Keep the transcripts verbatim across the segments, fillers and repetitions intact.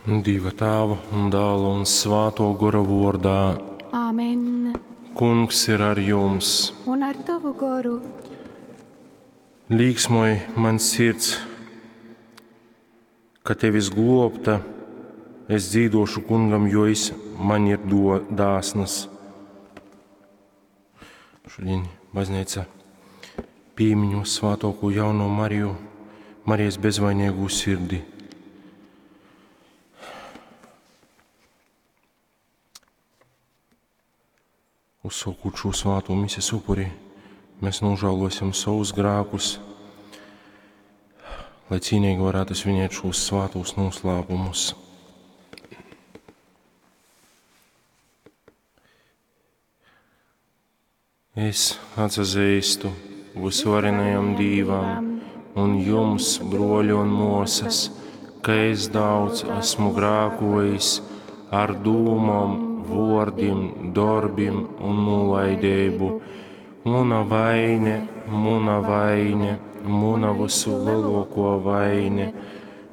Dieva Tēva un Dēla un Svāto Gora vordā. Āmen. Kungs ir ar jums. Un ar tavu goru. Līksmoj man sirds, ka tevis globta, es dzīdošu kungam, jo es man ir do, dāsnas. Šodien baznīca pīmiņo svātoko jauno Mariju, Marijas bezvainīgo sirdi. Uzsākot šo svāto mises upuri, mēs nožēlosim savus grēkus, lai cīnīgi varētu svinēt šos svātos noslēpumus. Es atzīstu visvarenajam Dīvam un jums, broļi un mosas, ka es daudz esmu grēkojis ar dūmom, vōrdim, dorbim un nolaidību. Muna vaine, muna vaine, muna visu lielāko vaine.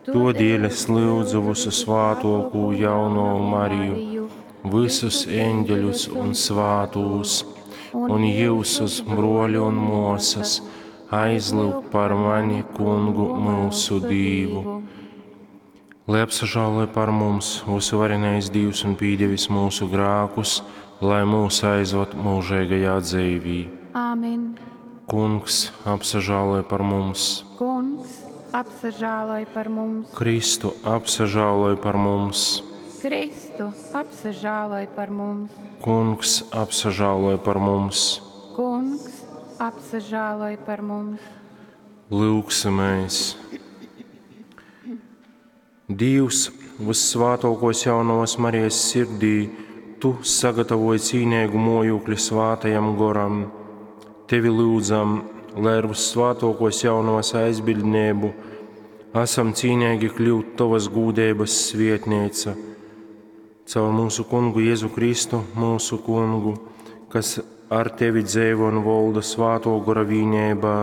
Todēļ es lūdzu visu svātoko jauno Mariju, visus eņģeļus un svātūs, un jūsus, broļi un mosas, aizlūgt par mani kungu mūsu Dīvu. Lai apsažāloj par mums visu varenais Dievs un pīdevis mūsu grēkus, lai mūs aizvad mūžīgajā dzīvī. Āmen. Kungs, apsažāloj par mums. Kungs, apsažāloj par mums. Kristu, apsažāloj par mums. Kristu, apsažāloj par mums. Kungs, apsažāloj par mums. Kungs, apsažāloj par mums. Lūgsimies! Dievs, vissvātākos jaunavas Marijas sirdī, tu sagatavoji cīnīgu mojūkli svātajam goram. Tevi lūdzam, lai ar vissvātākos jaunavas aizbildnību esam cīnīgi kļūt tavas gūdības svietnīca. Caur mūsu kungu Jēzu Kristu, mūsu kungu, kas ar tevi dzīvo un valda svāto gora vīnībā,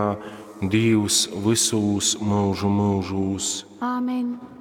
Dievs visūs mūžu mūžūs. Āmen.